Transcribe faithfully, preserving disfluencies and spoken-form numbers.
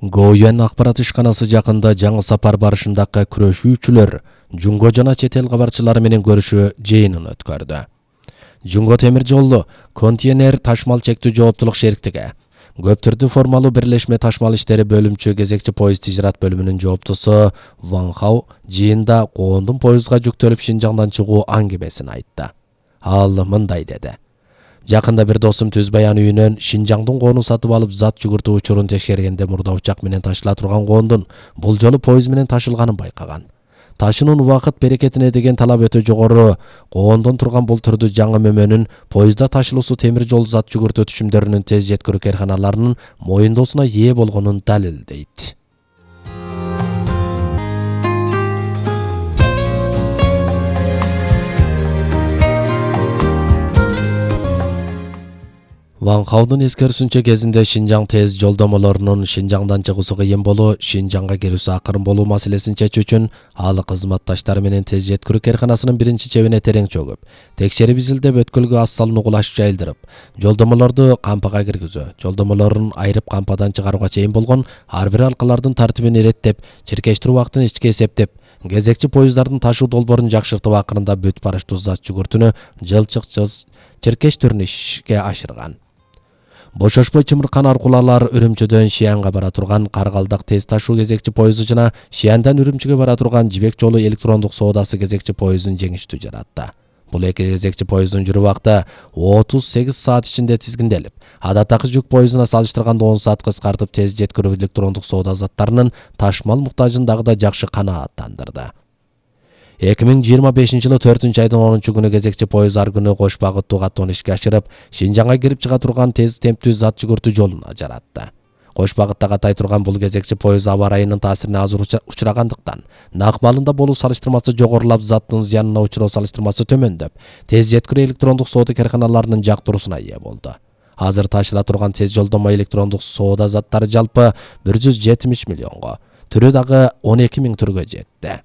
Гоюен акпарат ишканасы жакында жаңы сапар барышындагы күрөшүүчүлөр Жунго жана чет эл кабарчылары менен көрүшүү жыйынын өткөрдү. Жунго темир жолу контейнер ташмал чектүү жооптулук шериктиги, көп түрдүү формалуу бирлешме ташмал иштери бөлүмчү кезекчи поезд тижират бөлүмүнүн жооптусу Ван Хау жыйында коондун поездга жүктөлүп Шинжаңдан чыгуу аңгемесин айтты. Ал мындай деди: Жакында бир досум түз баян үйүнөн Шинжаңдын коонун сатып алып зат жүгүртүү учурун текшергенде мурда учак менен ташыла турган коондун бул жолу поезд менен ташылганын байкаган. Ташынын убакыт берекетине деген талап өтө жогору. Коондон турган бул түрдүү жаңы мөмөнүн поездда ташылуусу темир жол зат жүгүртүү түшүмдөрүнүн тез жеткирүү каарханаларынын моюндоосуна ээ болгонун далилдейт. Ван Хаудун эскерүүсүнчө кезинде Шинжаң тез жолдомолорунун Шинжаңдан чыгуусу кыйын болуу, Шинжаңга кирүүсү акырын болуу маселесин чечүү үчүн ал кызматташтары менен тез жеткирүү каарханасынын биринчи чебине терең чөгүп, текшерип изилдеп өткөлгө аз салынуу кулаш жайылдырып, жолдомолорду кампага киргизүү, жолдомолорун айрып кампадан чыгарууга чейин болгон ар бир алкалардын тартибин иреттеп, чиркештирүү убактын ичке эсептеп, кезекчи поезддардын ташуу долбоорун жакшыртып акырында бүт барыштуу зат жүгүртүүнү жылчыкчыз чиркеш түрүн ишке ашырган. Бошошпой чымыркан аркулалар Үрүмчүдөн Шиянга бара турган Каргалдак тез ташуу кезекчи поезду жана Шияндан Үрүмчүгө бара турган Жибек жолу электрондук соодасы кезекчи поездун жеңиштүү жаратты. Бул эки кезекчи поезддун жүрүү убакыты отуз сегиз саат ичинде тизгинделип, адаттагы жүк поездуна салыштырганда он саат кыскартып, тез жеткирүү электрондук соода заттарынын ташмал муктажын дагы да жакшы канааттандырды. эки миң жыйырма бешинчи жылы төртүнчү айдын онунчу күнү кезекчи поезд ар күнү кош багыттуу каттоон ишке ашырып, Шинжаңга кирип чыга турган тез темптүү зат жүгүртүү жолуна жаратты. Кош багытта катай турган бул кезекчи поезд аба ырайынын таасирине азыр учурагандыктан, нак маалында болуу салыштырмасы жогорулап, заттын зыянына учуроо салыштырмасы төмөндөп, тез жеткирүү электрондук соода каарханаларынын жактыруусуна ээ болду. Азыр ташыла турган тез жолдомо электрондук соода заттары жалпы бир жүз жетимиш миллионго, түрү дагы он эки миң түргө жетти.